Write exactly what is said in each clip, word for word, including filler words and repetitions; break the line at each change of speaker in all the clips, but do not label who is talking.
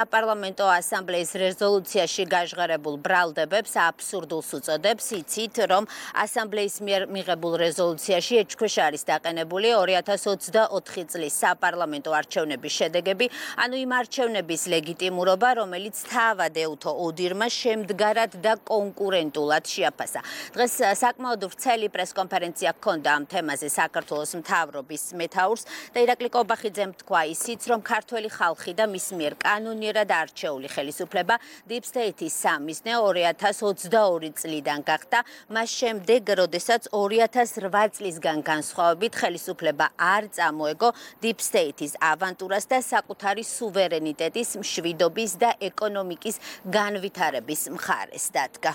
საპარლამენტო ასამბლეის რეზოლუციაში გაჟღერებულ ბრალდებებს აბსურდულს უწოდებს, იცით, რომ ასამბლეის მიერ მიღებულ რეზოლუციაში ეჭქვეშ არის დაყენებული ორი ათას ოცდაოთხი წლის საპარლამენტო არჩევნების შედეგები, ანუ იმ არჩევნების ლეგიტიმურობა, რომელიც თავად ეუთო ოდირმა შემდგარად და კონკურენტულად შეაფასა. დღეს საკმაოდ ვრცელი პრესკონფერენცია ჰქონდა ამ თემაზე საქართველოს მთავრობის მეთაურს და ირაკლი კობახიძემ თქვა ისიც, რომ ქართველი ხალხი და მის მიერ კანონიერად არჩეული ხელისუფლება Deep State-ის სამიზნე ორი ათას ოცდაორი წლიდან გახდა, მას შემდეგ, როდესაც ორი ათას რვა წლისგან განსხვავებით ხელისუფლება არ წამოეგო Deep State-ის ავანტურას და საკუთარი სუვერენიტეტის მშვიდობის და ეკონომიკის განვითარების მხარეს დადგა.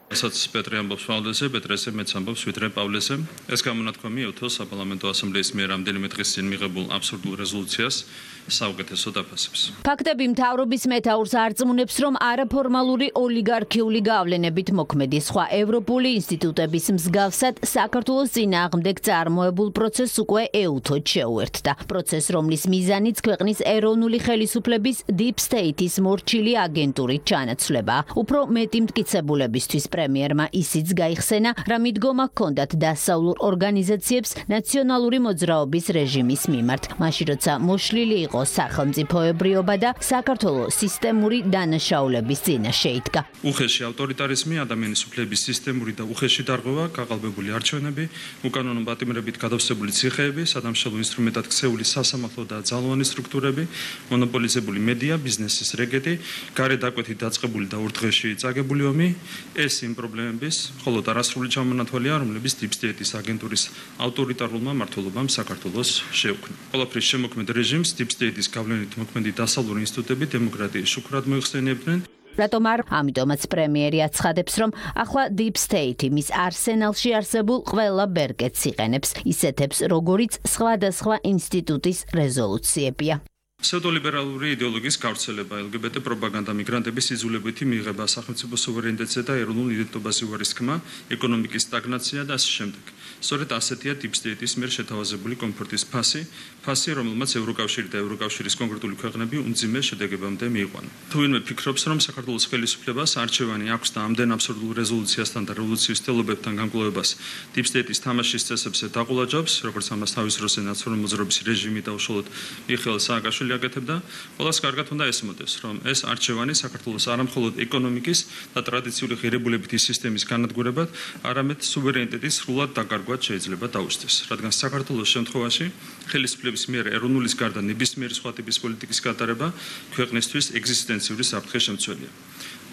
რასაც პეტრე ამბობს პავლეზე, პეტრესე მეც ამბობს ვიდრე პავლეზე. ეს გამონათქვამი ეუთოს საპარლამენტო ასამბლეის მიერ რამდენიმე დღის წინ მიღებულ აბსურდულ რეზოლუციას საუკეთესოდ აფასებს.
ფაქტები მთავრობის მეთაურს არწმუნებს, რომ არაფორმალური ოლიგარქიული გავლენებით მოქმედი სხვა ევროპული ინსტიტუტების მსგავსად საქართველოს წინააღმდეგ წარმოებულ პროცესს უკვე ეუთოდ შეუერთდა. პროცესს, რომლის მიზანიც ქვეყნის ეროვნული ხელისუფლების Deep State-ის მორჩილი აგენტურით ჩანაცვლება. უფრო მეტი მტკიცებულებისთვის პრემიერმა ისიც გაიხსენა, რა მიდგომა ჰქონდათ დასავლურ ორგანიზაციებს ნაციონალური მოძრაობის რეჟიმის მიმართ, მაშინ როცა მოშლილი იყო სახელმწიფოებრიობა და საქართველოს სისტემური დანაშაულების წინაშე იდგა.
უხეში ავტორიტარიზმი, ადამიანის უფლების სისტემური და უხეში დარღვევა, გაყალბებული არჩევნები, უკანონო პატიმრებით გადავსებული ციხეები, სადამშრალო ინსტრუმენტად ქცეული სასამართლო და ძალოვანი სტრუქტურები, მონოპოლიზებული მედია, ბიზნესის რეგეტი, გარეთ დაკვეთით დაწყებული და ურთღეში წაგებული ომი, ეს იმ პრობლემების, მხოლოდ არასრული ჩამონათვალია, რომლებიც Deep State-ის აგენტურის ავტორიტარულმა მმართველობამ საქართველოს შეუქმნა. ყველაფრის შემოქმედ რეჟიმს Deep State-ის გავლენით მოქმედი დასავლური ინსტიტუტები დემოკრატიის შუქრად მოიხსენიებდნენ.
რატომ არ? ამიტომაც პრემიერი აცხადებს, რომ ახლა Deep State მის არსენალში არსებულ ყველა ბერკეტს იყენებს, ისეთებს, როგორიც სხვადასხვა ინსტიტუტის რეზოლუციებია.
Pseudoliberალური იდეოლოგიის გავრცელება, L G B T პროპაგანდა, მიგრანტების იძულებითი მიღება, სახელმწიფო სუვერენიტეტზე და ეროვნულ იდენტობაზე უარისქმა, ეკონომიკის სტაგნაცია და ასე შემდეგ. სწორედ ასეთია Deep State-ის მიერ შეთავაზებული კომფორტის ფასი, ფასი, რომელმაც ევროკავშირი და ევროკავშირის კონკრეტული ქვეყნები უმძიმე შედეგებამდე მიიყვანა. თუ ვინმე ფიქრობს, რომ საქართველოს ხელისუფლებას არჩევანი აქვს და ამდენ აბსურდულ რეზოლუციასთან და რევოლუციის თელობებთან განკლოვებას Deep State-ის თამაშის წესებზე დაყოლაჯობს, როგორც ამას თავის დროზე ნაციონალური მოძრაობის რეჟიმი და უშუალოდ მიხეილ სააკაშვილი აკეთებდა, ყველას კარგად უნდა ესმოდეს, რომ ეს არჩევანი საქართველოს არამხოლოდ ეკონომიკის და ტრადიციული ღირებულებითი სისტემის განადგურებად, არამედ სუვერენიტეტის სრულად დაკარგვად შეიძლება დაუსწრეს, რადგან საქართველოს შემთხვევაში ხელისუფლების მიერ ეროვნულის გარდა ნებისმიერი სხვა ტიპის პოლიტიკის გატარება ქვეყნისთვის ეგზისტენციური საფრთხე შემცველია.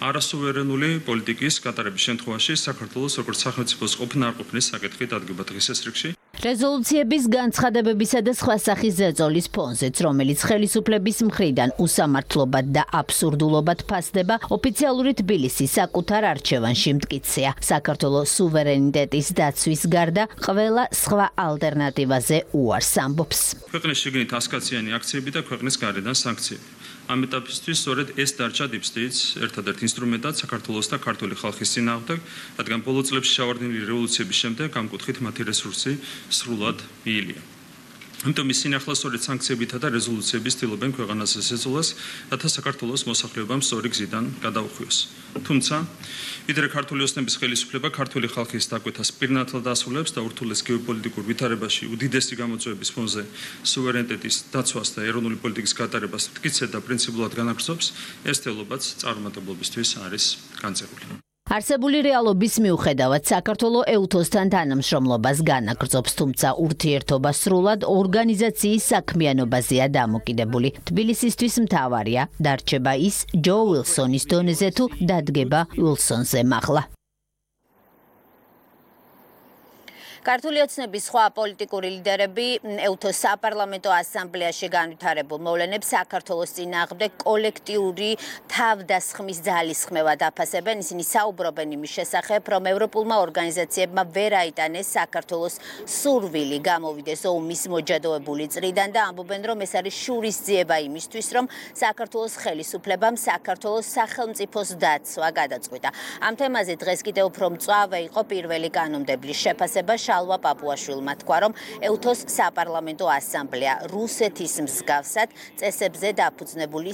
არასუვერენული პოლიტიკის გატარების შემთხვევაში საქართველოს როგორც სახელმწიფოს ყოფნა-არყოფნის საკითხი დადგება დღის ეს რიგში.
რეზოლუციების განცხადებებისა და სხვა სახის ზეწოლის ფონზეც, რომელიც ხელისუფლების მხრიდან უსამართლობად და აბსურდულობად ფასდება, ოფიციალური თბილისი საკუთარ არჩევანში მტკიცეა. საქართველოს სუვერენიტეტის დაცვის გარდა ყველა სხვა ალტერნატივაზე უარს ამბობს.
ქვეყნის შიგნით ასკაციანი აქციები და ქვეყნის გარედან სანქციები. ამ ეტაპისთვის სწორედ ეს დარჩა Deep State-ს ერთადერთ ინსტრუმენტად საქართველოს და ქართული ხალხის წინააღმდეგ, რადგან ბოლო წლებში ჩავარდნილი რევოლუციების შემდეგ ამ კუთხით მათი რესურსი სრულად მიილია. ამიტომ ისინი ახლა სწორედ სანქციებითა და რეზოლუციების ცდილობენ ქვეყანას ესეწოლას, რათა საქართველოს მოსახლეობამ სწორი გზიდან გადაუხვიოს. თუმცა, ვიდრე ქართული ოსნების ხელისუფლება ქართული ხალხის დაკვეთას პირნათლად ასრულებს და ურთულეს გეოპოლიტიკურ ვითარებაში უდიდესი გამოწვევების ფონზე სუვერენიტეტის დაცვას და ეროვნული პოლიტიკის გატარებას მტკიცედ და პრინციპულად განაგრძობს, ეს თელობაც წარუმატებლობისთვის არის განწერული.
არსებული რეალობის მიუხედავად საქართველოს ეუთოსთან თანამშრომლობას განაგრძობს, თუმცა ურთიერთობა სრულად ორგანიზაციის საქმიანობაზეა დამოკიდებული. თბილისისთვის მთავარია დარჩება ის ჯო უილსონის დონეზე თუ დადგება უილსონზე მაღლა. ქართული ოცნების სხვა პოლიტიკური ლიდერები ეუთოს საპარლამენტო ასამბლეაში განვითარებულ მოვლენებს საქართველოს წინააღმდეგ კოლექტიური თავდასხმის ძალისხმევად აფასებენ. ისინი საუბრობენ იმის შესახებ, რომ ევროპულმა ორგანიზაციებმა ვერ აიტანეს საქართველოს სურვილი გამოვიდეს ომის მოჯადოებული წრიდან და ამბობენ, რომ ეს არის შურისძიება იმისთვის, რომ საქართველოს ხელისუფლებამ საქართველოს სახელმწიფოს დაცვა გადაწყვიტა. ამ თემაზე დღეს კიდევ უფრო მწვავე იყო პირველი კანონმდებლის შეფასება. შალვა პაპუაშვილმა თქვა, რომ ეუთოს საპარლამენტო ასამბლეა რუსეთის მსგავსად წესებზე დაფუძნებული